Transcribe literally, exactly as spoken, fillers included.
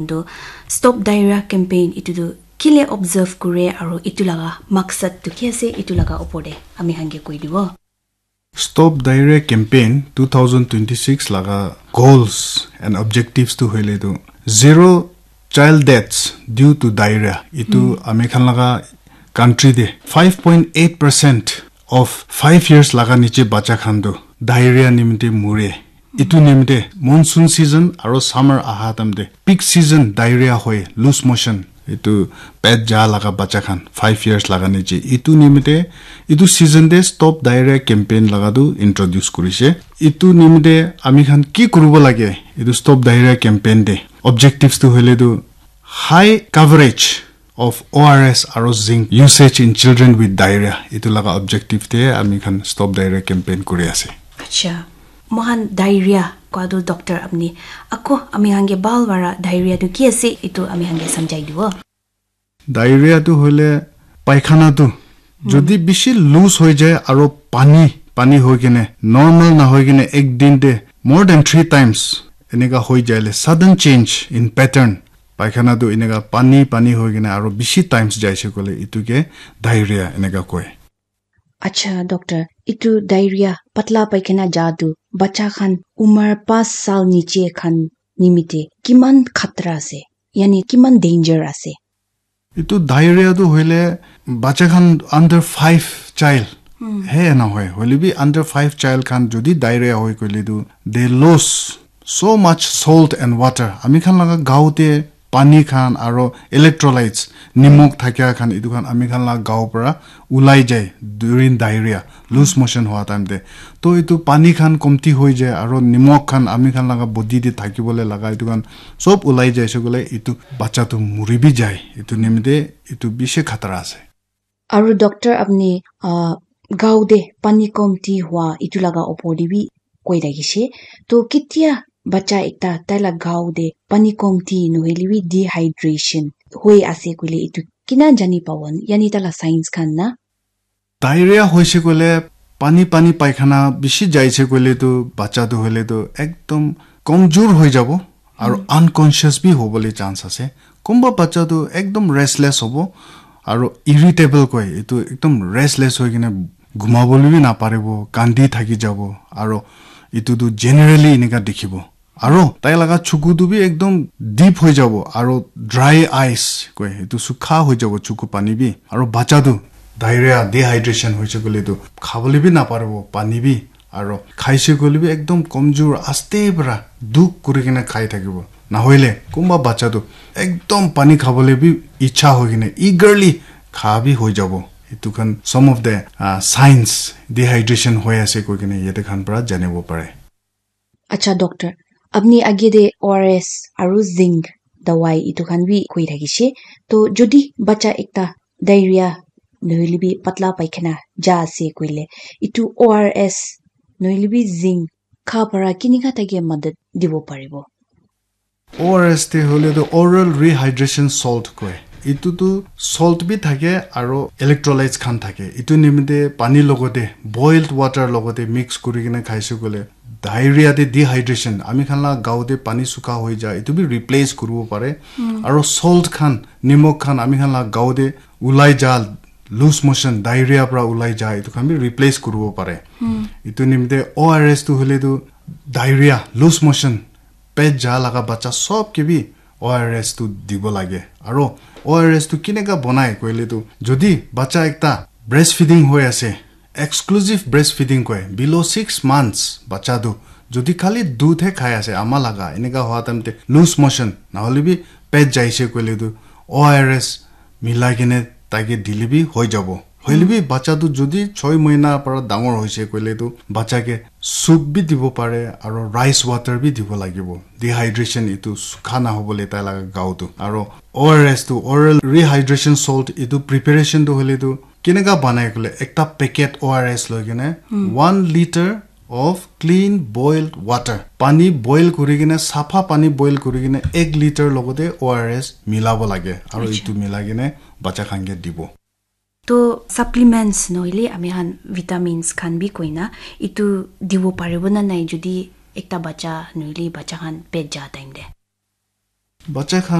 Tu Stop Diarrhea campaign itu tu kile observe kure aru itu laga maksad tu ki ase, itu laga opor te ami khan ke koi dibo. Stop Diarrhea campaign two thousand twenty-six laga goals and objectives tu hoile tu zero child deaths due to diarrhea. Itu ami khan laga country te five point eight percent of five years laga niche bacha khan tu diarrhea nimite mure. Itu nimite monsoon season aro summer aha time te peak season diarrhea hoi, loose motion, itu pet ja laga bacha khan five years laga niche. Itu nimite itu season te Stop Diarrhea campaign laga tu introduce kurise. Itu nimite ami khan ki kuribo lage? Itu Stop Diarrhea campaign te objectives tu hoile tu high coverage of O R S aro zinc usage in children with diarrhea. Itu laga objective te ami khan Stop Diarrhea campaign kuri ase. Acha, mohan diarrhea kua tu doctor apni ako ami khan ke bhal para diarrhea tu ki ase itu ami khan ke samjhai dibo. Diarrhea tu hoile paikhana tu jodi bishi loose hoi jai aro pani pani hoi kene normal na hoi kene ek din te more than three times eneka hoi jaile, sudden change in pattern, paikhana tu eneka pani pani hoi kene aro bishi times jaise koile itu ke diarrhea eneka koi. Acha doctor, itu diarrhea, patla paikhana ja tu bacha khan umar pas sal niche khan nimite kiman khatra ase? Yani kiman danger ase? Itu diarrhea tu hoile bacha khan under five child he na hoi. Hoile bi under five child khan jodi diarrhea hoi koile tu they lose so much salt and water. Ami khan laga gao te pani khan aro electrolytes, nimok thakia khan, itu khan ami khan laga gao para ulai jai during diarrhea, loose motion hua time te. To itu pani khan komti hoi jai aro nimok khan ami khan laga body te thakibole laga itu khan sob ulai jai se koile itu bacha tu muri bi jai. Itu nimite itu bishi khatara ase. Aru doctor apni, ah, gao te pani komti hua itu laga opor te bi koi thakishe. To ketia bacha ekta tai la gao te pani komti nohoile bi dehydration hoi ase koile itu kina jani pabo, yani tai la science khan na? Diarrhea hoise koile pani pani paikhana bishi jaise koile tu bacha tu hoile tu ekdom komjor hoi jabo aru unconscious bi hobole chance ase. Kumba bacha tu ekdom restless hobo aru irritable koi, etu ekdom restless hoi kena ghumabole bi naparibo, kandi thaki jabo aru etu tu generally eneka dikhibo. Aru tai laga chuku tu bi ekdom deep hoi jabo aru dry eyes koi, etu sukha hoi jabo chuku pani bi. Aru bacha tu diarrhea, dehydration hoise koile tu khabole bi naparibo pani bi. Aro khaise koile bi ekdom komjor, aste para dukh kuri kena khai thakibo. Nahoile kunba bacha tu ekdom pani khabole bi ichha hoi kena eagerly kha bi hoi jabo. Etu khan some of the, uh, signs dehydration hoi ase koi kena yate khan para janibo pare. Acha doctor, apni age de O R S aru zinc dawai etu khan bi koi thakishe. To jodi bacha ekta diarrhea nohoile bi patla paikhana ja ase koile, etu O R S nohoile bi zinc kha para kinika thake madad dibo paribo? O R S te hoile tu oral rehydration salt koi. Etu tu salt bi thake aro electrolytes khan thake. Etu nimite pani logote, boiled water logote mix kuri kena khaise koile diarrhea te dehydration, ami khan la gao te pani sukha hoi ja, etu bi replace kuribo pare. Aro salt khan, nimok khan ami khan la gao te ulai ja, loose motion, diarrhea pra ulai ja, etu khan bi replace kuribo pare. Etu nimite O R S tu hoile tu diarrhea, loose motion, pet ja laga bacha sob ke bi O R S tu dibo lage. Aro O R S tu kineka bonai koile tu, jodi bacha ekta breastfeeding hoi ase, exclusive breastfeeding koi, below six months bacha tu jodi khali dudh he khai ase ama laga, eneka hua time te loose motion, nahole bi pet jaise koile tu O R S milai kene taike dile bi hoi jabo. Hoile bi bacha tu jodi choi mahina para dangor hoise koile tu bacha ke soup bi dibo pare aro rice water bi dibo lagibo. Dehydration etu sukha nahobole tai laga gao tu. Aro O R S tu, oral rehydration salt, etu preparation tu hoile tu kineka banai koile ekta packet O R S loi kene one liter of clean boiled water, pani boil kuri kene, sapha pani boil kuri kene ek liter logote O R S milabo lage aro etu milai kene bacha khan ke dibo. To supplements nohoile ami khan vitamins khan bi koina etu dibo paribo na nai jodi ekta bacha nohoile bacha khan pet ja time te? Bacha khan